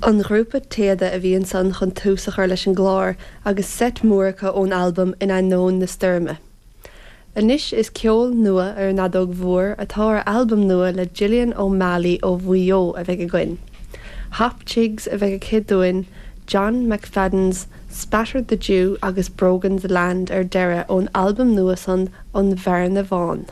An grúpa Téada a bhí ansan chun tús a chur leis an gclár agus seit mór acu ón albam In Ainneoin na Stoirme. Anois is ceol nua ar an fheadóg mhór atá ar albam nua le Gillian O'Malley ó Mhaigh Eo a bheidh againn. Hop Jigs a bheidh aici dúinn, John McFadden's Spatter the Dew agus Brogan's Land ar deireadh ón albam nua san An Bhearna Bhán.